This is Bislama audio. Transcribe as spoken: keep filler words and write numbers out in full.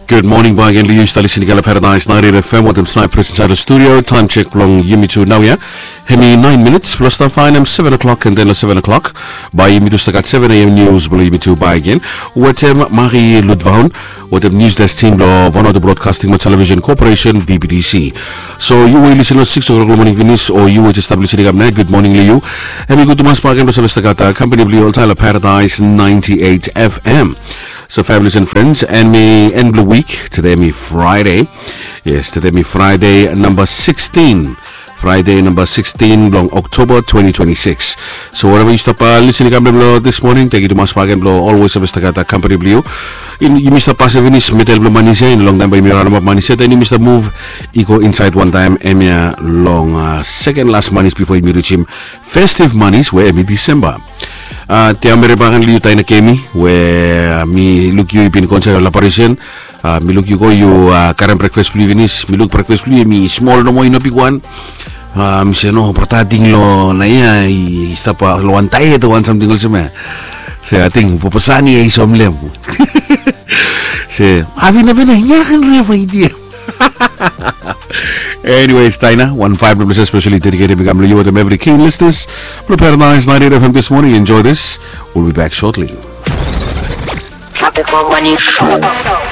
Gud moning bagen long yu. Yu stap lisin i kam long Paradise ninety-eight F M wetem Cyprus insaed long studio. Taem sek blong yumi tu naoia hemi naen minits blong stap faenem seven o'clock, and then long seven o'clock bae yumi tu stap gat seven a.m. nius blong yumi tu bagen wetem Marie Ludvaun wetem nius desk tim blong Vanuatu Broadcasting mo Television Corporation, V B T C. So yu we i lisin long six o'clock long moning finis, o yu we jes stap lisin i kam nao, gud moning long yu. Hemi gud tumas bagen blong save stap gat kampani blong yu oltaem long Paradise ninety-eight F M. So families and friends, en mi en blong wik, tede mi Fraede. Yes, tede mi Fraede namba sixteen. Fraede namba sixteen blong Oktoba twenty twenty-six. So wherever yu stap lisin i kam blong dis moning, tengiu tumas bagen blong olwes save stap gat kampani blong yu. Yumi stap pasem finis midel blong manis ya, i no longtaem bae yumi raonap manis ya, then yumi stap muv i go insaed wantaem hemia long seken las manis bifo yumi rijim festiv manis we hemi Disemba. Tia mere bagen long yu Taina Kemi, we mi luk yu i bin go insaed long laparesen. Mi luk yu go, yu karem brekfas blong yu finis. Mi luk brekfas blong yu hemi smol nomo, i no bigwan. Mi se no, brata, ating long naoia i stap long wan taet o wan samting olsem ya. Se ating papa Sani ya i soem long hem. Se ating na bena ya kan ref aiti ya. Anyways, Taina, wan faef blong blessed specially dedicated mi kam long yu wetem evri keen listeners blong Paradise ninety-eight F M this morning. Enjoy this. We'll be back shortly. Tropical Morning Show.